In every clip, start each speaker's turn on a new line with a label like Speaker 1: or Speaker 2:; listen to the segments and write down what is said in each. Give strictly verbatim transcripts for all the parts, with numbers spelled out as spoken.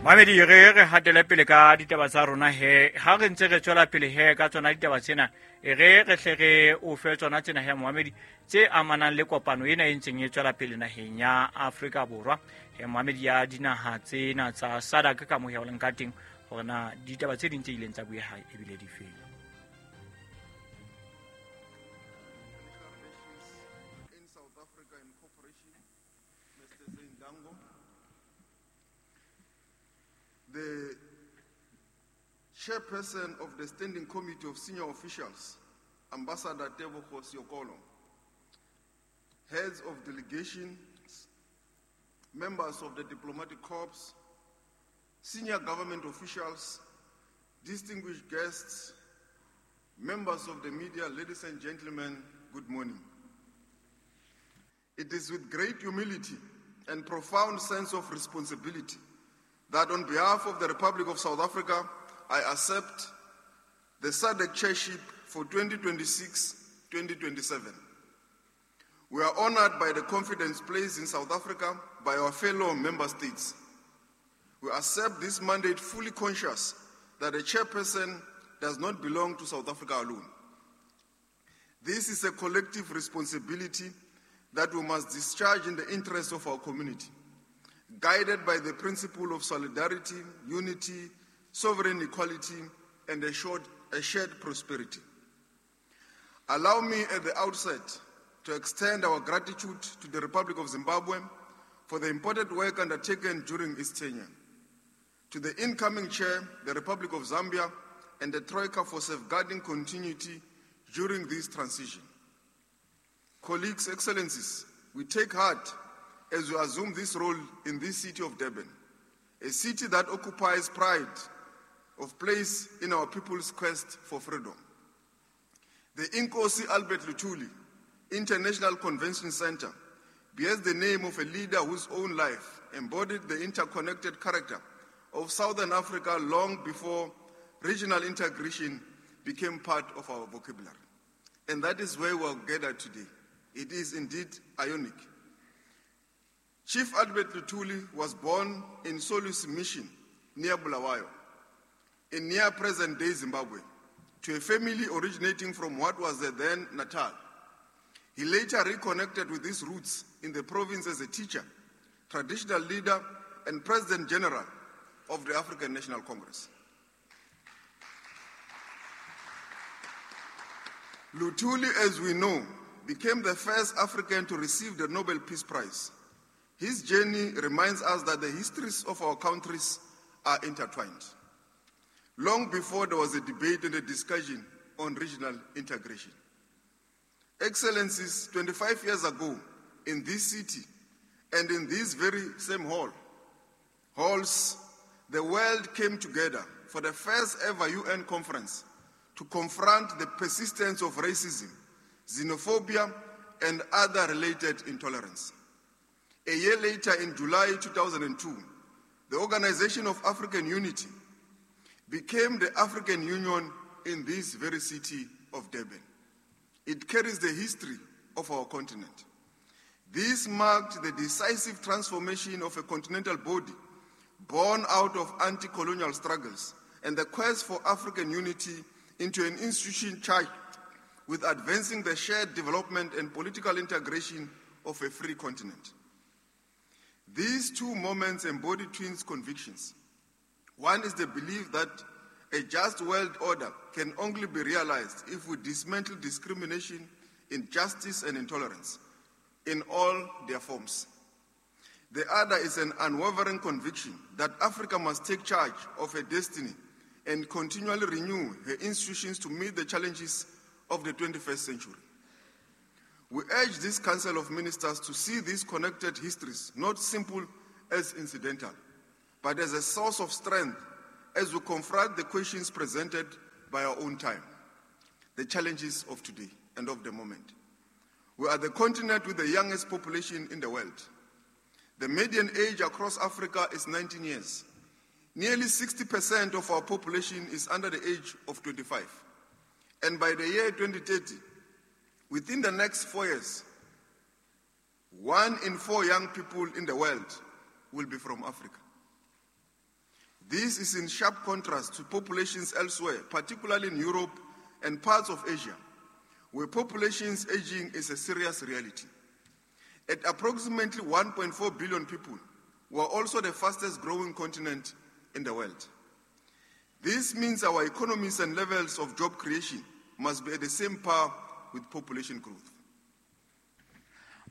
Speaker 1: Mamedi re re hatele pele ka ditaba tsa rona he ha re ntse re tswela pele he ka tsona ditaba tsena e re re hle re o fe tsona tsena he Mohamedi tse amanang le kopano ena e ntseng e tswela pele naheng ya Afrika Borwa he Mohamedi ya dinaha tsena tsa SADC ka moya o leng ka teng hore na ditaba tse ding tse ileng tsa bueha ebile di feng.
Speaker 2: In South Africa in cooperation, Mister Zane Dangor, the chairperson of the Standing Committee of Senior Officials, Ambassador Tebogo Seokolo, heads of delegations, members of the diplomatic corps, senior government officials, distinguished guests, members of the media, ladies and gentlemen, good morning. It is with great humility and profound sense of responsibility that on behalf of the Republic of South Africa, I accept the SADC chairship for twenty twenty-six twenty twenty-seven. We are honored by the confidence placed in South Africa by our fellow member states. We accept this mandate fully conscious that the chairperson does not belong to South Africa alone. This is a collective responsibility that we must discharge in the interest of our community, guided by the principle of solidarity, unity, sovereign equality, and a, short, a shared prosperity. Allow me at the outset to extend our gratitude to the Republic of Zimbabwe for the important work undertaken during its tenure, to the incoming chair, the Republic of Zambia, and the Troika for safeguarding continuity during this transition. Colleagues, Excellencies, we take heart as we assume this role in this city of Durban, a city that occupies pride of place in our people's quest for freedom. The Inkosi Albert Luthuli International Convention Center bears the name of a leader whose own life embodied the interconnected character of Southern Africa long before regional integration became part of our vocabulary. And that is where we are gathered today. It is indeed ironic. Chief Albert Luthuli was born in Solusi Mission near Bulawayo, in near present-day Zimbabwe, to a family originating from what was the then Natal. He later reconnected with his roots in the province as a teacher, traditional leader, and President General of the African National Congress. Luthuli, as we know, became the first African to receive the Nobel Peace Prize. His journey reminds us that the histories of our countries are intertwined. Long before there was a debate and a discussion on regional integration. Excellencies, twenty-five years ago, in this city and in this very same hall, halls, the world came together for the first ever U N conference to confront the persistence of racism, xenophobia, and other related intolerance. A year later, in July two thousand two, the Organization of African Unity became the African Union in this very city of Durban. It carries the history of our continent. This marked the decisive transformation of a continental body born out of anti-colonial struggles and the quest for African unity into an institution charged with advancing the shared development and political integration of a free continent. These two moments embody twin convictions. One is the belief that a just world order can only be realized if we dismantle discrimination, injustice, and intolerance in all their forms. The other is an unwavering conviction that Africa must take charge of her destiny and continually renew her institutions to meet the challenges of the twenty-first century. We urge this Council of Ministers to see these connected histories not simple as incidental, but as a source of strength as we confront the questions presented by our own time, the challenges of today and of the moment. We are the continent with the youngest population in the world. The median age across Africa is nineteen years. Nearly sixty percent of our population is under the age of twenty-five. And by the year twenty thirty, within the next four years, one in four young people in the world will be from Africa. This is in sharp contrast to populations elsewhere, particularly in Europe and parts of Asia, where populations aging is a serious reality. At approximately one point four billion people, we are also the fastest growing continent in the world. This means our economies and levels of job creation must be at the same par with population growth.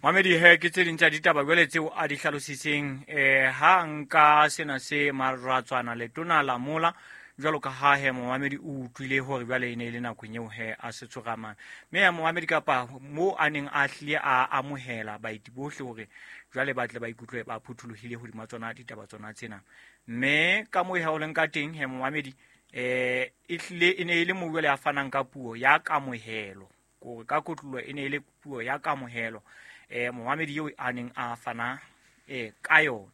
Speaker 1: Mamedi he ke tse ding tsa ditaba jwale tseo a di hlalositseng eh ha nka sena se maratswana letona la mola jwalo ka ha he momamedi o utlwile hore jwale e ne e le nakong eo he a se tsogamang mme ya momamedi kapa mo a neng a hlile a amohela baeti bohle hore jwale ba tle ba ikutlwe ba phuthulohile hodima tsona ditaba tsona tsena mme ka moo ha o leng ka teng he momamedi eh e hlile e ne e le mo jwale a fanang ka puo ya kamohelo kore ka kotlolo e ne e le puo ya kamohelo eh momamedi eo a neng a fana eh ka yona.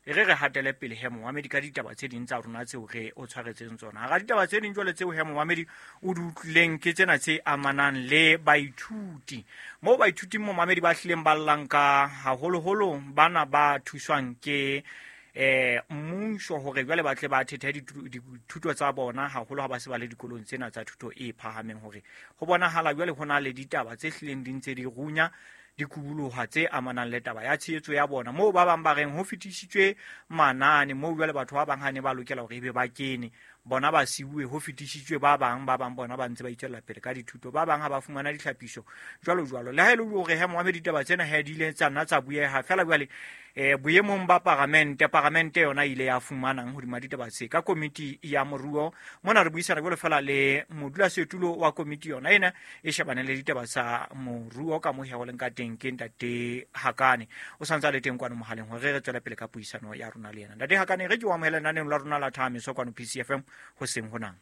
Speaker 1: E re re hatele pele he momamedi ka ditaba tse ding tsa rona tseo re o tshwaretseng tsona. Hara ditaba tse ding jwale tseo he momamedi o di utlwileng ke tsena tse amanang le baithuti. Moo baithuti momamedi ba hlileng ba llang ka haholoholo bana ba thuswang ke eh mmuso hore jwale ba tle ba thethe dithuto tsa bona haholo ha ba se ba le dikolong tsena tsa thuto e phahameng hore ho bonahala jwale ho na le ditaba tse hlileng di ntse di runya dikubuluha tse amanang le taba ya tshehetso ya bona moo ba bang ba reng ho fetisitswe manane moo jwale batho ba bang ha ne ba lokela hore ebe ba kene bona ba siuwe ho fetisitswe ba bang ba bang bona ba ntse ba itswella pele ka dithuto ba bang ha ba fumana ditlhapiso jwalo jwalo le ha e le hore he moamedi ditaba tsena he di ile tsa nna tsa bueha fela jwale eh boemong ba paramente paramente yona ile ya fumanang hodima ditaba tse ka komiti ya moruo mona re buisana jwalo fela le modulasetulo wa komiti yona ena e shebane le ditaba tsa moruo ka mo he ho leng ka teng ke ntate Hakane o santse a le teng kwano mohaleng hore re tswele pele ka puisano ya rona le yena. Ntate Hakane re ke o amohela lenaneng la rona la Thahamiso kwano P C F M ho seng honang.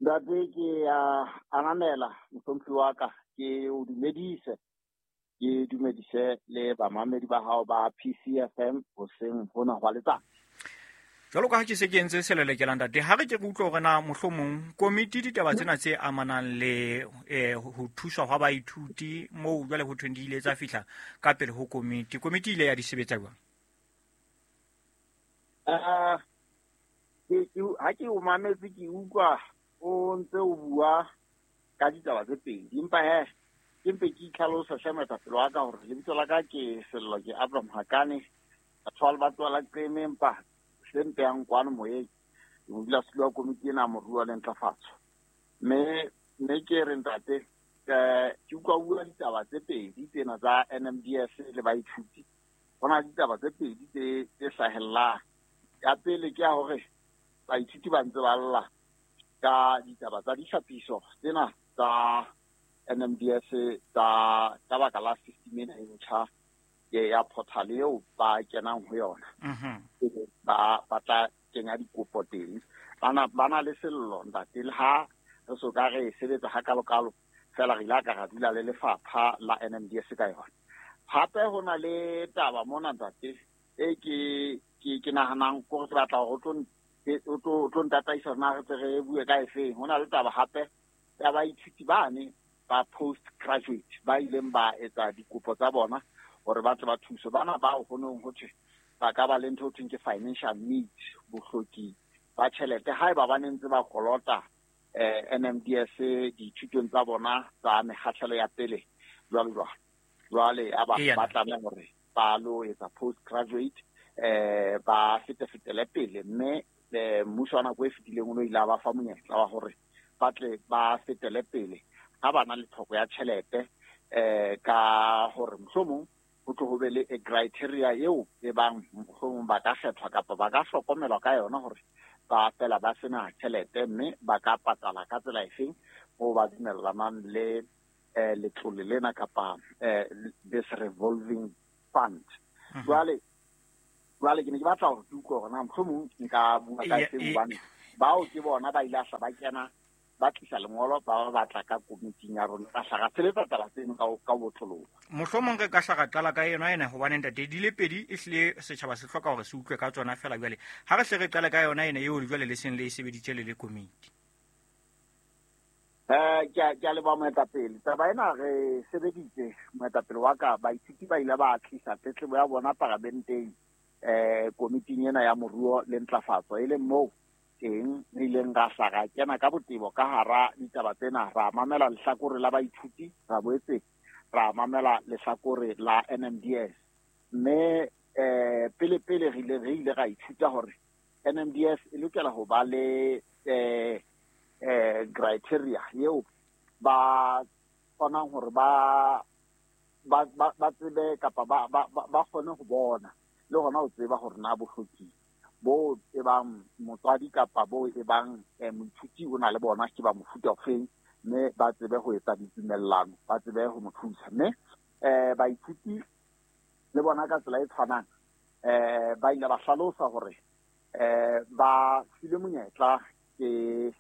Speaker 3: Ntate ke a ananela mohlomphi wa ka ke o dumedise ke dumedise le bamamedi ba hao ba P C F M ho seng hona hwa letsatsi.
Speaker 1: Jwalo ka ha ke se ke entse selelekelang ntate ha re ke re utlwe hore na mohlomong komiti ditaba tsena tse amanang le eh ho thuswa hwa baithuti moo jwale ho thweng di ile tsa fihla ka pele ho komiti komiti ile ya di sebetsa jwang?
Speaker 3: Eh ke ke ha ke o mametse ke utlwa o ntse o bua ka ditaba tse pedi empa he ke mpe ke itlhalosa hle moetapele wa ka hore lebitso la ka ke Sello ke Abraham Hakane batho ba tswala Qeme empa se mpehang kwano moyeng ke modulasetulo wa komiti ena moruo le ntlafatso mme mme ke re ntate eh ke utlwa bua ditaba tse pedi tsena tsa N M D S le baithuti ho na ditaba tse pedi tse tse hlahellang. Ya pele ke ya hore baithuti ba ntse ba lla ka ditaba tsa ditlhapiso tsena tsa N M D S tsa ka baka la system ena e ntjha ya portal eo ba kenang ho yona ba ba tla kenya dikopo teng bana bana le sello ntate le ha re so ka re sebetsa ha kalokalo fela re ile ka ra dula le lefapha la N M D S ka yona. Hape ho na le taba mona ntate e ke ke ke nahanang gore ke batla hore o tlo o tlo ntataisa na re tle re bue ka efeng. Ho na le taba hape ya baithuti bane ba post graduate ba ileng ba etsa dikopo tsa bona hore ba tle ba thuswe bana bao ho nong ho thwe ba ka ba le ntho ho thweng ke financial needs bohloki ba tjhelete haeba ba ne ntse ba kolota eh N M D S dithutong tsa bona tsa mekgahlelo ya pele jwalo jwalo jwale aba ba tlameha hore ba lo etsa post graduate eh ba fetefetele pele mme mmuso wa nako e fetileng o no ile a ba fa monyetla wa hore ba tle ba fetele pele ha ba na le tlhoko ya tjhelete eh ka hore mohlomong ho tlo ho be le a criteria eo e bang mohlomong ba ka kgethwa kapa ba ka hlokomelwa ka yona hore ba fela ba sena tjhelete mme ba ka patala ka tsela efeng moo ba dumellanang le eh letlole lena kapa eh this revolving fund. Jwale jwale ke ne ke batla hore ke utlwe hore na mohlomong nka bua ka efeng hobane bao ke bona ba ile hla ba kena ba tlisa lengolo ba ba batla ka komiting ya rona ra hla ra sebetsa taba tseno ka ka botloloha.
Speaker 1: Mohlomong re ka hla ra qala ka yona ena hobane ntate di le pedi e hlile setjhaba se hloka hore se utlwe ka tsona fela jwale ha re hle re qale ka yona ena eo jwale le seng le e sebeditse le le komiti.
Speaker 3: Eh ke ke a leboha moetapele taba ena re sebeditse moetapele wa ka baithuti ba ile ba tlisa tletlebo ya bona paramenteng eh komiting ena ya moruo le ntlafatso, e leng moo teng re ileng ra hla ra kena ka botebo ka hara ditaba tsena, ra mamela lehlakore la baithuti, ra boetse ra mamela lehlakore la N M D S. Mme eh pele pele re ile re ile ra ithuta hore N M D S e lokela ho ba le eh eh criteria eo ba kgonang hore ba ba ba tsebe kapa ba ba ba kgone ho bona le hona ho tseba hore na bohloki bo e bang motswadi kapa bo e bang moithuti o na le bona ke ba mofuta ofeng, mme ba tsebe ho etsa ditumellano, ba tsebe ho mo thusa. Mme eh baithuti le bona ka tsela e tshwanang eh ba ile ba hlalosa hore eh ba filwe monyetla ke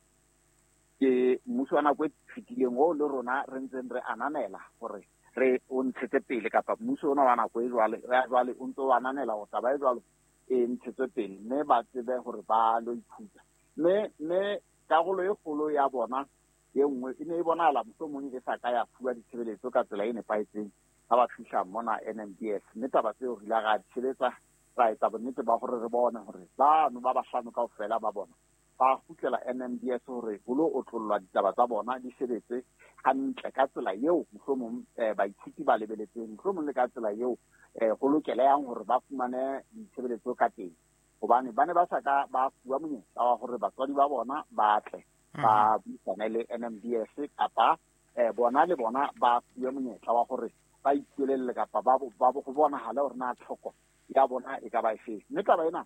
Speaker 3: ke mmuso wa nako e fetileng oo le rona re ntseng re ananela hore re o ntshetse pele, kapa mmuso ona wa nako e jwale ya jwale o ntse o ananela hore taba e jwalo e ntshetswe pele, mme ba tsebe hore ba lo ithuta. Mme mme karolo e kgolo ya bona e nngwe e ne e bonahala mohlomong e sa ka ya fuwa ditshebeletso ka tsela e nepahetseng ha ba fihla mona N M D S. Mme taba tseo re ile ra di sebetsa, ra etsa bonnete ba hore re bone hore bano ba bahlano kaofela ba bona ba kgutlela N M D S hore ho lo otlollwa ditaba tsa bona di sebetse hantle ka tsela eo mohlomong baithuti ba lebeletseng, mohlomong le ka tsela eo ho lokelehang hore ba fumane ditshebeletso ka teng, hobane ba ne ba sa ka ba fuwa monyetla wa hore batswadi ba bona ba tle ba buisane le N M D S, kapa bona le bona ba fuwe monyetla wa hore ba ipuelelle kapa ba ba go bonahale hore na tlhoko ya bona e ka ba efe. Mme taba ena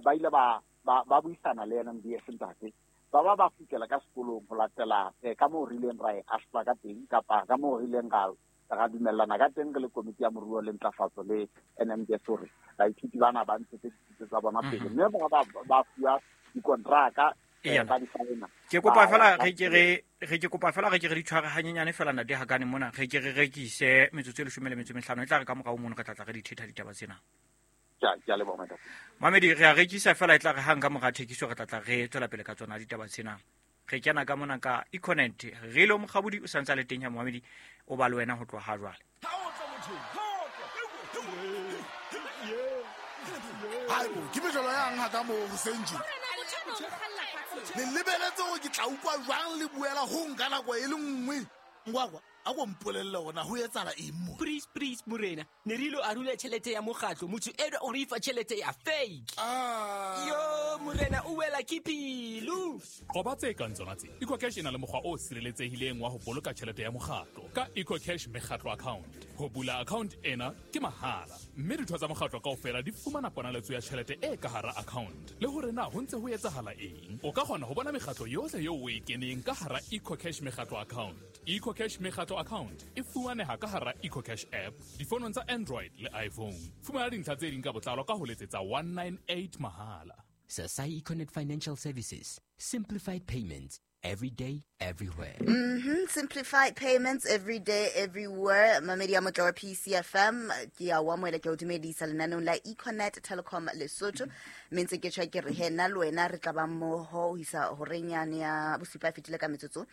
Speaker 3: ba ile ba ba ba buisana le N M D S ntate, ba ba ba kgutlela ka sekolong ho latela ka moo re ileng ra e ahlola ka teng, kapa ka moo re ileng ra ra dumellana ka teng re le komiti ya moruo le ntlafatso le N M D S hore baithuti bana ba ntshetse dithuto tsa bona pele, mme ba ba ba fuwa dikontraka ba di saena.
Speaker 1: Ke kopa fela re ke re re ke kopa fela re ke re di tshware hanyenyane fela ntate Hakane mona, re ke re rekise metsotso e leshome le metso e mehlano, e tla re ka morao mono re tla tla re di thetha ditaba tsena.
Speaker 3: Ke a leboha ntate.
Speaker 1: Mamedi, re a rekisa fela e tla re hang ka mora thekiso re tla tla re tswela pele ka tsona ditaba tsena. Re kena ka mona ka Econet, re lo Mokgabudi o santsa le teng ya Mamedi o ba le wena ho tloha jwale.
Speaker 4: Haebo, ke mejolo yang ha ka mo hoseng tje. Le lebeletse hore ke tla utlwa jwang le buela ho nka nako e le nngwe. Ngwakwa, a ko mpolelle hore na ho etsahala eng mo.
Speaker 5: Please, please morena, ne re ilo arula tjhelete ya mokgatlo, motho enwa o re fa tjhelete ya fake.
Speaker 4: Ah.
Speaker 5: Yo morena o wela ke pelo.
Speaker 6: Qoba tse kang tsona tse. EcoCash e na le mokgwa o sireletsehileng wa ho boloka tjhelete ya mokgatlo ka EcoCash mekgatlo account. Ho bula account ena ke mahala, mme ditho tsa mokgatlo kaofela di fumana ponaletso ya tjhelete e ka hara account. Le hore na ho ntse ho etsahala eng, o ka kgona ho bona mekgatlo yohle eo o e keneng ka hara EcoCash mekgatlo account. EcoCash mekgatlo account e fumaneha ka hara EcoCash app difonong tsa Android le iPhone. Fumana dintlha tse ding ka botlalo ka ho letsetsa one nine eight mahala.
Speaker 5: Sasai Econet Financial Services. Simplified payments every day, everywhere.
Speaker 7: Mm-hmm. Simplified payments every day, everywhere. Mamedi ya motla wa P C F M. Ke a o amohela, ke o dumedisa lenaneong la Econet Telecom Lesotho. Mme ntse ke tjho ke re he nna le wena re tla ba mmoho ho isa horeng yane ya bosupa e fetile ka metsotso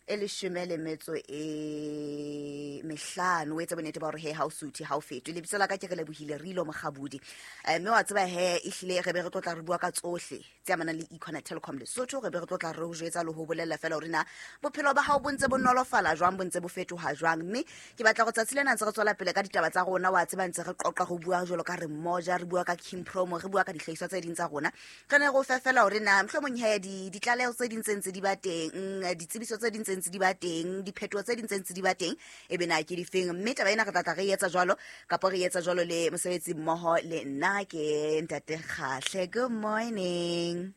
Speaker 7: e leshome le metso e mehlano. O etse bonnete ba hore he ha o suthe, ha o fetwe. Lebitso la ka ke re lebohile Rilo Mokgabudi. Mme wa tseba he ehlile re be re tlotla re bua ka tsohle tse amanang le Econet Telecom Lesotho. Re be re tlotla re o jwetsa le ho bolela fela hore na bophelo ba hao bo ntse bo nolofala jwang, bo ntse bo fetoha jwang. Mme ke batla go tsatsi lena ntse re tswela pele ka ditaba tsa rona, wa tseba ntse re qoqa go bua jwalo ka re mmoja, re bua ka King Promo, re bua ka dihlahiswa tse ding tsa rona. Re ne re o fe fela hore na mohlomong he di ditlaleho tse ding tse ntse di ba teng, ditsebiso tse ding tse ntse di ba teng, diphetoho tse ding tse ntse di ba teng, e be na ke difeng. Mme taba ena re tla tla re etsa jwalo kapa re etsa jwalo le mosebetsi mmoho le nna ke Ntate Kgahle. Good morning.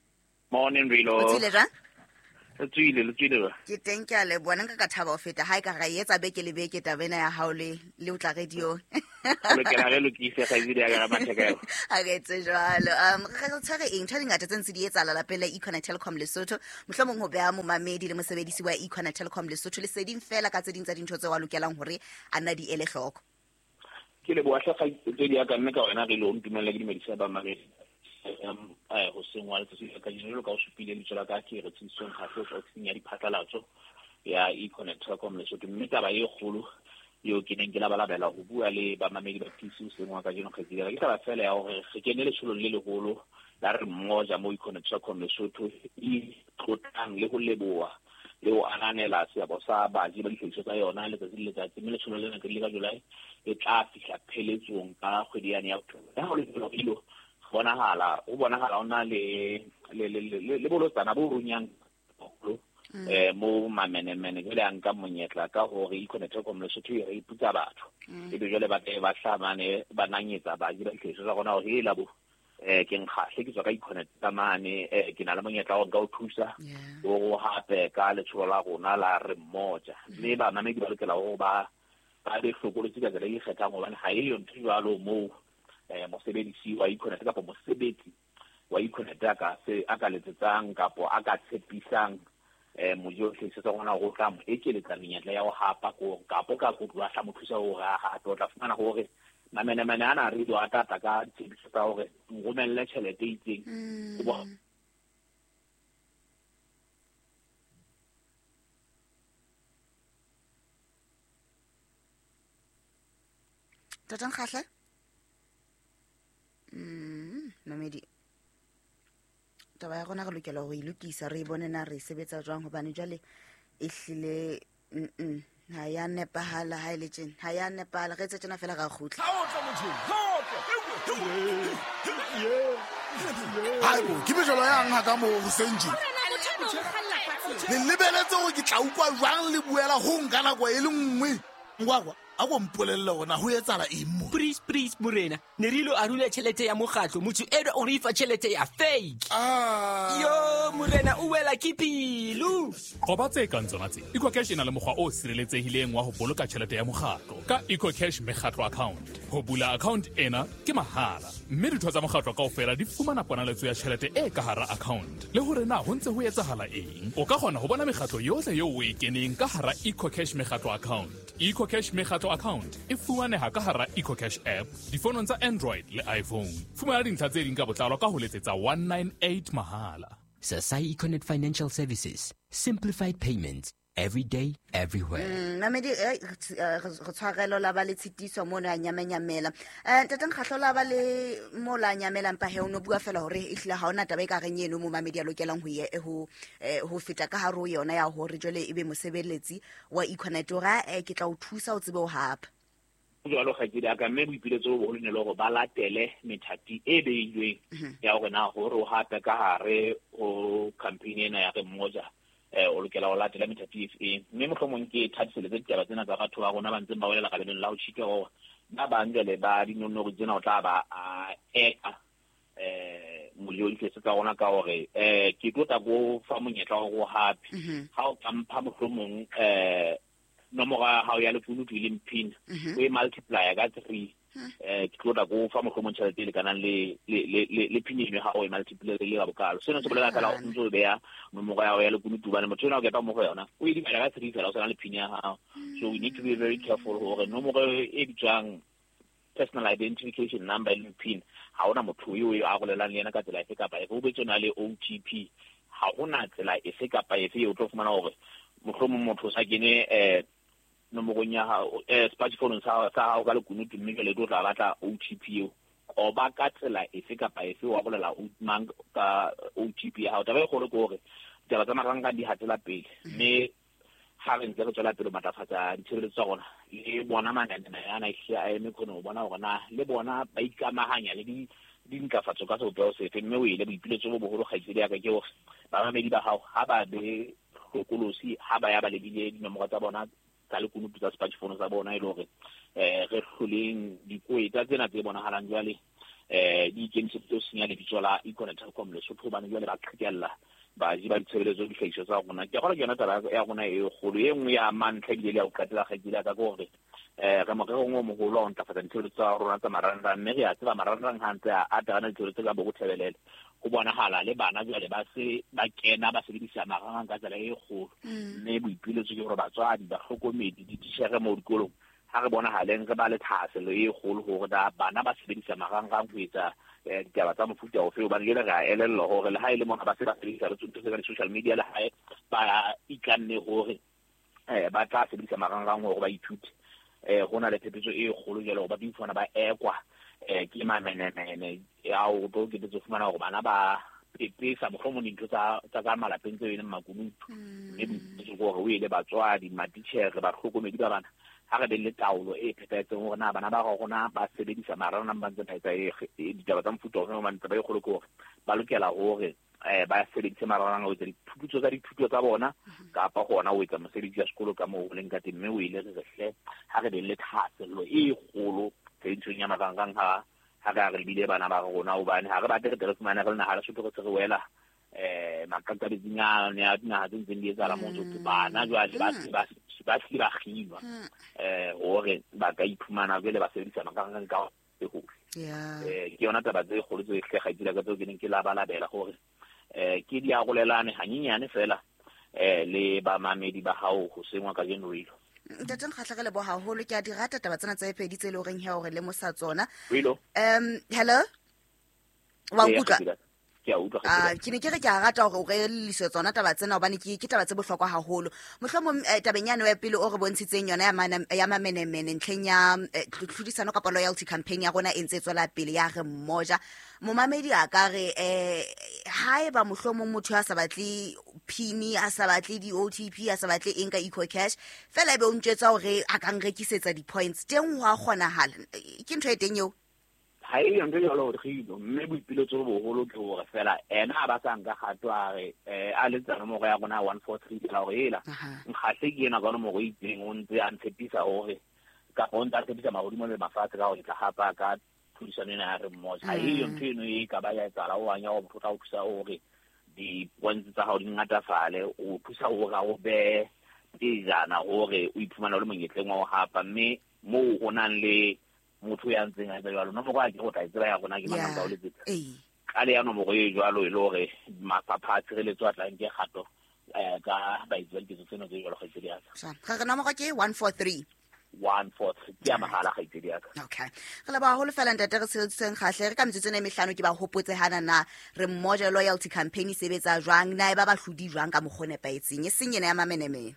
Speaker 8: Morning Rilo.
Speaker 7: O tsile jwang?
Speaker 8: Le tswile, le tswile ba.
Speaker 7: Ke teng, ke a le bona nka ka thaba ho feta ha e ka ra etsa beke le beke taba ena ya hao le le o tla radio.
Speaker 8: Lokela re lokise kgaitsedi ya ka matheka eo.
Speaker 7: Ha re etse jwalo. Um re re tshwere eng ntho di ngata tse ntse di etsahala lapeng la Econet Telecom Lesotho. Mohlomong ho beha momamedi le mosebedisi wa Econet Telecom Lesotho leseding fela ka tse ding tsa dintho tseo a lokelang hore a nna di ele hloko.
Speaker 8: Ke leboha hle kgaitsedi ya ka mme ka wena re lo ntumella ke dumedisa ba mamedi. Um eh hoseng wa letsatsi la kajeno jwalo ka o supile lebitso la ka ke re tsebisong kgahle ho tswa ofising ya diphatlalatso ya Econet Telecom Lesotho. Mme taba e kgolo Eo ke neng ke labalabela ho bua le bamamedi ba P C hoseng wa kajeno kgaitsedi ya ka. Ke taba fela ya hore re kene letsholong le leholo la re mmoja mo Econet Telkom Lesotho e tlotlang le ho leboha le ho ananela seabo sa baji ba dihlahiswa tsa yona letsatsi le letsatsi. Mme letsholo lena ke le ka July e tla fihla pheletsong ka kgwedi yane ya October. Ha ho le jwalo, ilo bonahala o bonahala o na le le le le bolotsana bo runyang haholo eh mo mamenemene jwale a nka monyetla ka hore Econet Telkom Lesotho e re iputsa batho ebe jwale ba tle ba hlamane ba nanyetsa baji ba dihlahiswa tsa rona hore e la bo eh ke nkgahle ke tswa ka Econet ka mane eh ke na le monyetla wa nka o thusa o hape ka letsholo la rona la re mmoja. Mme bamamedi ba lokela hore ba ba be hlokolotsi ka tsela e ikgethang hobane ha e yo ntho jwalo moo eh mosebedisi wa Econet kapa mosebetsi wa Econet a ka se a ka letsetsang kapo a ka tshepisang eh mojo tlhese tsa rona go tla mo ekeletsa menyetla ya ho hapa ko kapo ka kotlwa tla mo thusa hore a hape. O tla fumana hore mamenemene ana re do atata ka ditshepiso tsa hore nromelle tjhelete e itseng.
Speaker 7: Tata Nkgahle? Mm, mamedi. Taba ya rona re lokela ho e lokisa re bone na re sebetsa jwang hobane jwale e hlile mm ha ya nepahala ha ile tjena ha ya nepahala re etse tjena fela ra kgutla.
Speaker 4: Haibo ke mejolo yang ha ka mo hoseng tje. Le lebeletse hore ke tla utlwa jwang le buela ho nka nako e le nngwe. Ngwakwa a go mpolelle hore ho etsahala eng mo.
Speaker 5: Please please morena ne re ilo arula tjhelete ya mokgatlo motho eno o re fa tjhelete ya fake.
Speaker 4: Ah
Speaker 5: yo morena o wela ke pelo.
Speaker 6: Qoba tse kang tsona tse. EcoCash e na le mokgwa o sireletsehileng wa ho boloka tjhelete ya mokgatlo ka EcoCash mekgatlo account. Ho bula account ena ke mahala mme ditho tsa mokgatlo kaofela di fumana ponaletso ya tjhelete e ka hara account le hore na ho ntse ho etsahala eng. O ka kgona ho bona mekgatlo yohle eo o e keneng ka hara EcoCash mekgatlo account. EcoCash mekgatlo account e fumaneha ka hara EcoCash app difonong tsa Android le iPhone. Fumana dintlha tse ding ka botlalo ka ho letsetsa one nine eight mahala.
Speaker 5: Sasai Econet Financial Services, simplified payments every day, everywhere.
Speaker 7: Mm, mamedi re tshwarelo la ba le tshitiso mo na nyamenyamela. Eh Ntate Nkgahlo la ba le mo la nyamelang pa he o no bua fela hore e hlile ha ona taba e ka reng eno mo mamedi a lokelang ho ye ho ho feta ka hare ho yona ya hore jwale ebe mosebeletsi wa Econet ora ke tla o thusa o tsebe ho hapa.
Speaker 8: Jwalo kgaitsedi ya ka mme boipiletso bo boholo ne le hore ba latele methati e beilweng ya hore na hore o hape ka hare ho campaign ena ya re mmoja eh o lokela ho latela methati efe. Mme mohlomong ke thatiseletse ditaba tsena tsa batho ba rona ba ntseng ba welela kabelong la ho tjhitwa hore ba bang jwale ba dinonori tsena o tla ba a eka eh molio ditlhese tsa rona ka hore eh ke tlo tla go fa monyetla wa hore o hape ha o ka mpha mohlomong eh nomoro ya hao ya lekunutu e leng pin o e multiplier ka three eh ke tlo tla go fa mohlomong tjhelete e lekanang le le le le pin eno ha o e multiplier le ka bokalo. Sena se bolela fela o ntso o beha nomoro ya hao ya lekunutu hobane motho ena o kepa mo go yona o e dibala ka three fela o sana le pin ya hao. So we need to be very careful hore nomoro e bitswang personal identification number le pin ha ona motho eo e arolelang le yena ka tsela efe kapa efe. O betse o na le O T P ha hona tsela efe kapa efe eo o tlo fumana hore mohlomong motho o sa kene eh nomorong ya hao eh smartphone sa sa hao ka lekunutu mme jwale o tla batla O T P eo. Qoba ka tsela efe kapa efe wa bolela o mang ka O T P ya hao. Taba e kgolo ke hore ditaba tsa marangrang di hatela pele mme ha re ntse re tswela pele ho matlafatsa ditshebeletso tsa rona le bona mananeo ana ehlile a eme khone ho bona hore na le bona ba ikamahanya le di dintlafatso ka sebopeho sefe. Mme o ile boipiletso bo boholo kgaitsedi ya ka ke hore bamamedi ba hao ha ba be hlokolosi ha ba ya ba lebile dinomoro tsa bona tsa lekunutu tsa smartphone tsa bona e le hore eh re hloleng dikoeta tsena tse bonahalang jwale eh di ikemiseditse ho senya lebitso la Econet Telkom Lesotho hobane jwale ba qhekella baji ba ditshebeletso dihlahiswa tsa rona. Ke kgolwa ke yona taba ya rona e kgolo e nngwe ya mantlha ebile le ya ho qetela kgaitsedi ya ka ke hore eh re morerong o moholo wa ho ntlafatsa ditshebeletso tsa rona tsa marangrang mme re a tseba marangrang ha ntse a ata ditshebeletso ka bo thebelele ho bonahala le bana jwale ba se ba kena ba sebedisa marangrang ka tsela e kgolo. Mme boipiletso ke hore batswadi bahlokomedi dititjhere mo dikolong ha re bonahaleng re ba le thahasello e kgolo hore da bana ba sebedisa marangrang ho etsa ditaba tsa mofuta ofe hobane jwale re a elellwa hore le ha e le mona ba se ba sebedisa le ntho tse ka di-social media le hae ba itlanne hore eh ba tla sebedisa marangrang hore ba ithute. eh ho na le phephetso e kgolo jwale hore ba tlo ifumana ba ekwa eh ke mamenemene ya o tlo ke fumana hore bana ba pepesa mohlomong dintho tsa tsa ka malapeng tseo e leng makunutu mme boipiletso ke hore o ele batswadi matitjhere bahlokomedi ba bana ha re be le taolo e phethahetseng hore na bana ba rona ba sebedisa marangrang ba ntse ba etsa e ditaba tsa mofuta ofe hobane taba e kgolo ke hore ba lokela hore eh ba sebedise marangrang ho etsa diphuputso tsa dithuto tsa bona kapa hona ho etsa mosebetsi ya sekolo ka moo o leng ka teng mme o ile re re hle ha re be le thahasello e kgolo tshebedisong ya marangrang ha ha re re lebile bana ba rona hobane ha re batle re tle re fumane re le naha Lesotho re se re wela eh makakabetsing a ya dinaha tse ntseng di etsahala moo tse bana jwale ba ba ba hlile ba kginwa eh hore ba ka iphumana jwale ba sebedisa marangrang ka hohle. Eh ke yona taba tse kgolo tse hle kgaitsedi ka tseo ke neng ke labalabela hore eh ke di arolelane hanyenyane fela eh le bamamedi ba hao ho sengwa kajeno rilo.
Speaker 7: Ntate Nkgahle re leboha haholo ke a di rata taba tsena tse pedi tse le horeng he hore le mosa tsona.
Speaker 8: Rilo.
Speaker 7: Um hello. Wa nkutlwa?
Speaker 8: Ke a utlwa.
Speaker 7: Ah ke ne ke re ke a rata hore o re elelliswe tsona taba tsena hobane ke ke taba tse bohlokwa haholo. Mohlomong tabeng yane ya pele o re bontshitseng yona ya ya mamenemene ntlheng ya tlhodisano kapa loyalty campaign ya rona e ntse e tswela pele ya re mmoja. Momamedi a ka re eh haeba mohlomong motho a sa batle PIN a sa batle di O T P a sa batle eng ka EcoCash fela ebe o ntjwetsa hore a ka nrekisetsa di-points teng ho a kgonahala ke ntho e teng eo.
Speaker 8: Ha e ntho e jwalo hore kgilo mme boipiletso bo boholo ke hore fela ena a ba sa nka kgato a re a letsa nomoro ya rona one four three fela hore ela Nkgahle ke ena ka nomoro e itseng o ntse a ntshepisa hore kapa o ntse a tshepisa mahodimo le mafatshe ka hore ke tla hapa ka tlhodisano ena ya re mmoja. Ha eyo ntho eno e ka ba ya etsahala o anya o motho o tla o thusa hore di-points tsa hao di ngatafale o thusa hore o be pejana hore o iphumane o le monyetleng wa ho hapa mme moo ho nang le motho ya ntseng a etsa jwalo nomoro a ke go tla e tseba ya rona ke mang ka o letsetsa ka le ya nomoro e jwalo e le hore mafapha a tshireletso a tla nke kgato eh ka baetsi ba diketso tseno tse jwalo kgaitsedi ya ka.
Speaker 7: Ga re nomoro ke one four three
Speaker 8: one four three ke ya mahala kgaitsedi ya ka.
Speaker 7: Okay. Re leboha haholo fela ntate re tsheheditseng Kgahle re ka metsotso ena e mehlano ke ba hopotse hana na re mmoja loyalty campaign e sebetsa jwang na e ba bahlodi jwang ka mokgwa o nepahetseng e seng ena ya mamenemene.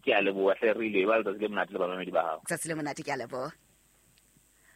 Speaker 8: Ke a leboha hle re ile ba letsatsi le monate le bamamedi ba hao.
Speaker 7: Letsatsi le monate ke a leboha.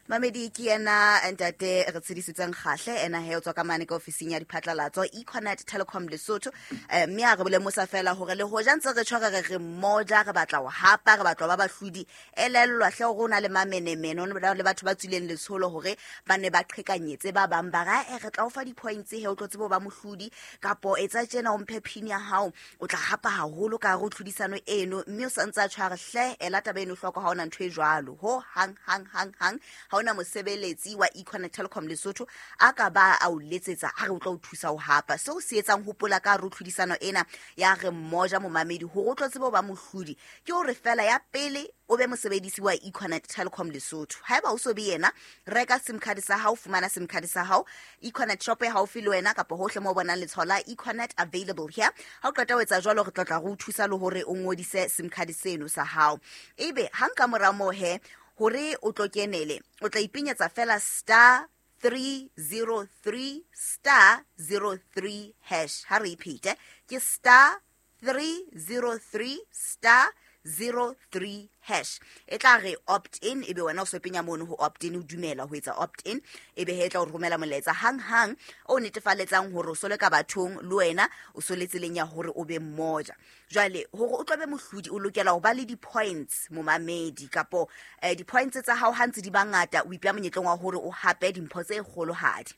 Speaker 7: Mamedi ke yena ntate re tshedisitseng Kgahle ena he o tswa ka mane ka ofising ya diphatlalatso Econet Telecom Lesotho mme a re bolemosa fela hore le hoja ntse re tshware re re mmoja re batla ho hapa re batla ba bahlodi elellwa hle hore o na le mamenemene o na le batho ba tswileng letsholo hore ba ne ba qhekanyetse ba bang ba ra e re tla o fa di-points he o tlo tsebe ho ba mohlodi kapo etsa tjena o mphe pin ya hao o tla hapa haholo ka hare ho tlhodisano eno mme o sa ntse a tshware hle ela taba eno hloko ha ona ntho e jwalo ho hang hang hang hang ha ona mosebeletsi wa Econet Telecom Lesotho a ka ba a o letsetsa a re o tla o thusa ho hapa seo se etsang hopola ka re tlhodisano ena ya re mmoja momamedi hore o tlo tsebe ho ba mohlodi ke hore fela ya pele o be mosebedisi wa Econet Telecom Lesotho haeba o so be yena reka SIM card sa hao fumana SIM card sa hao Econet shop e haufi le wena kapa hohle mo bonang letshwao la Econet available here ha o qeta ho etsa jwalo re tla tla re o thusa le hore o ngodise SIM card seno sa hao ebe hang ka mora moo he hore o tlo kenele o tla ipenyetsa fela star three zero three star zero three hash ha re repeat ke star three zero three star zero three hash e tla re opt in ebe wena o so penya mono ho opt in o dumela ho etsa opt in ebe he tla o romela molaetsa hang hang o netefaletsang hore o sole ka bathong le wena o sole tseleng ya hore o be mmoja jwale hore o tlobe mohlodi o lokela ho ba le di-points momamedi kapo eh, di-points tsa hao ha ntse di bangata o ipea monyetleng wa hore o hape dimpho tse kgolohadi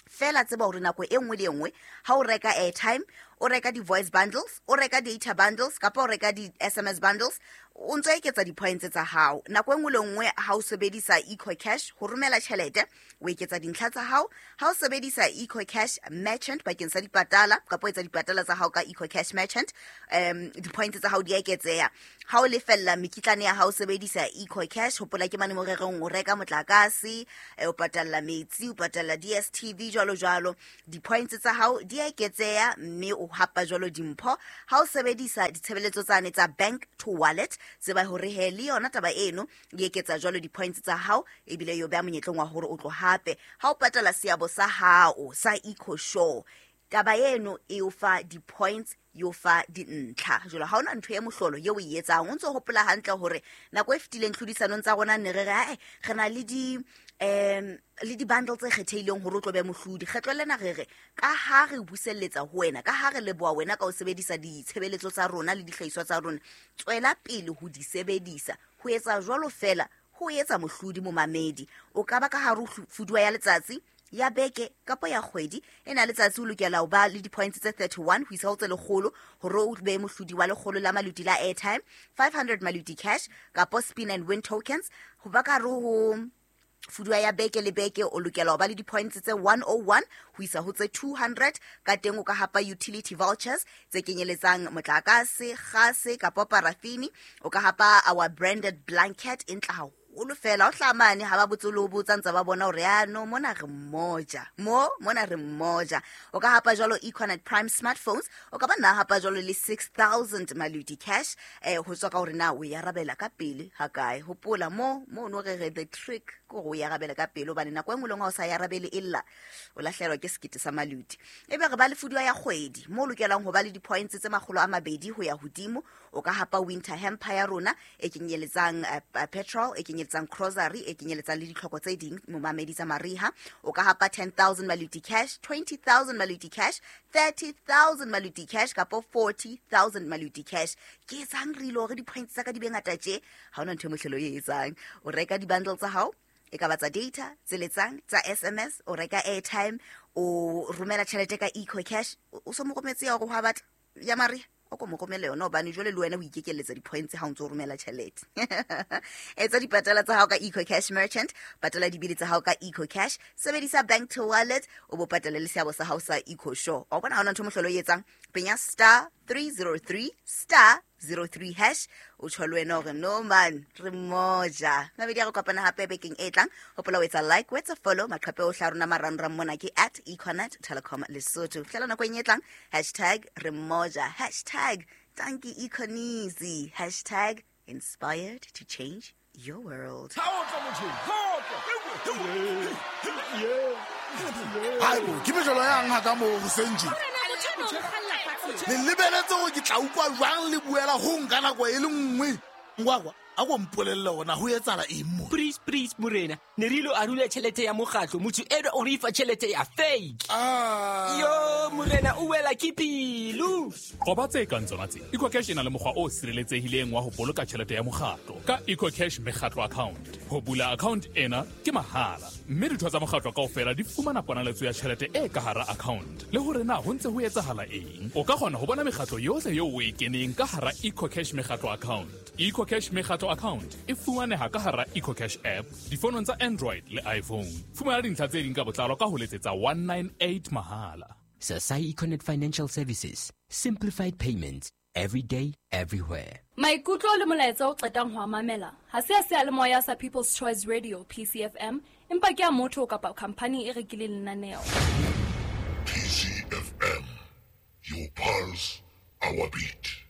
Speaker 7: fela tseba hore nako e nngwe le e nngwe ha o reka airtime o reka di-voice bundles o reka data bundles kapa o reka di-S M S bundles o ntso eketsa di-points tsa hao nako e nngwe le nngwe ha o sebedisa EcoCash ho romela tjhelete o eketsa dintlha tsa hao ha o sebedisa EcoCash merchant bakeng sa dipatala kapa o etsa dipatala tsa hao ka EcoCash merchant um di-points tsa hao di eketseha ha o lefella mekitlane ya hao sebedisa EcoCash hopola ke mane mo rereng o reka motlakase o patalla metsi o patalla D S T V jwalo jwalo di-points tsa hao di eketseha mme o hapa jwalo dimpho ha o sebedisa ditshebeletso tsane tsa bank to wallet tseba hore he le yona taba eno e eketsa jwalo di-points tsa hao ebile yo beha monyetleng wa hore o tlo hape ha o patala seabo sa hao sa EcoSure Taba eno e o fa di-points, e o fa dintlha. Jwale ha hona ntho e mohlolo eo o e etsang. O ntso hopola hantle hore nako e fetileng tlhodisanong tsa rona ne re re ae re na le di um le di-bundle tse kgethehileng hore o tlo be mohlodi. Kgetlo lena re re ka ha re buselletsa ho wena, ka ha re leboha wena ka ho sebedisa ditshebeletso tsa rona le dihlahiswa tsa rona, tswela pele ho di sebedisa. Ho etsa jwalo fela ho etsa mohlodi momamedi. O ka ba ka hare ho fuduwa ya letsatsi, ya beke kapa ya kgwedi. Ena letsatsi o lokela ho ba le di-points tse thirty-one ho isa ho tse lekgolo hore o be mohlodi wa lekgolo la maluti la airtime, five hundred maluti cash kapa spin and win tokens. Ho ba ka hare ho fuduwa ya beke le beke o lokela ho ba le di-points tse one oh one ho isa ho tse two hundred. Ka teng o ka hapa utility vouchers tse kenyeletsang motlakase, kgase kapa parafini. O ka hapa our branded blanket e ntle haholo fela. O hlaha mane ha ba botse le ho botsa ntse ba bona hore ya no mona re mmoja, mo mona re mmoja. O ka hapa jwalo Econet Prime smartphones. O ka ba nna hapa jwalo le six thousand maluti cash, eh ho tswa ka hore na o e arabela ka pele ha kae. Hopola mo mo no re re the trick ke hore o e arabela ka pele, hobane nako e nngwe le nngwe ha o sa e arabele e lla o lahlehelwa ke sekete sa maluti. Ebe re ba le fuduwa ya kgwedi mo o lokelang ho ba le di-points tse makgolo a mabedi ho ya hodimo. O ka hapa winter hamper ya rona e kenyeletsang uh, petrol, e kenyeletsang grocery, e kenyeletsang le ditlhoko tse ding momamedi tsa mariha. O ka hapa ten thousand maluti cash, twenty thousand maluti cash, thirty thousand maluti cash kapa forty thousand maluti cash. Ke etsang re ile hore di-points tsa ka di be ngata tje? Ha hona ntho e mohlolo e etsang. O reka di-bundle tsa hao, e ka ba tsa data, tse letsang, tsa S M S, o reka airtime, o romela tjhelete ka Eco Cash. O so mo rometse ya hore ho batla ya mariha, o ko mo romele yona hobane jwale le wena o ikekelletsa di-points ha o ntso romela tjhelete. Etsa dipatala tsa hao ka Eco Cash Merchant, patala dibili tsa hao ka Eco Cash, sebedisa bank to wallet, o bo patale le seabo sa hao sa Eco Show. O bona ha hona ntho mohlolo e etsang. Penya star three zero three star zero three hash, o tjho le wena hore no man re mmoja. Mabedi a re kopana hape bekeng e tlang. Hopola o etsa like, o etsa follow maqhepe ohle a rona marangrang mona ke at Econet Telecom Lesotho. Fihlela nakong e tlang, hashtag re mmoja, hashtag Tanki Econisi, hashtag inspired to change your world.
Speaker 4: Haibo, ke mejolo yang ha ka mo hoseng tje? Le lebeletse hore ke tla utlwa jwang le buela ho nka nako e le nngwe. Ngwakwa, a ko mpolelle hore na ho etsahala eng mo?
Speaker 5: Please, please, morena. Ne re ilo arula tjhelete ya mokgatlo, motho enwa o re fa tjhelete ya fake.
Speaker 4: Ah.
Speaker 5: Yo, morena, o wela ke pelo.
Speaker 6: Qoba tse kang tsona tse. EcoCash e na le mokgwa o sireletsehileng wa ho boloka tjhelete ya mokgatlo ka EcoCash mekgatlo account. Ho bula account ena ke mahala, mme ditho tsa mokgatlo kaofela di fumana ponaletso ya tjhelete e ka hara account. Le hore na ho ntse ho etsahala eng. O ka kgona ho bona mekgatlo yohle eo o e keneng ka hara EcoCash mekgatlo account. EcoCash mekgatlo account e fumaneha ka hara EcoCash app difonong tsa Android le iPhone. Fumana dintlha tse ding ka botlalo ka ho letsetsa one nine eight mahala.
Speaker 5: Sasai Econet Financial Services, simplified payments every day, everywhere.
Speaker 9: Maikutlo le molaetsa o qetang ho mamela ha se a seyalemoya sa People's Choice Radio P C F M, empa ke a motho kapa company e rekileng lenaneo.
Speaker 10: P C F M, your pulse, our beat.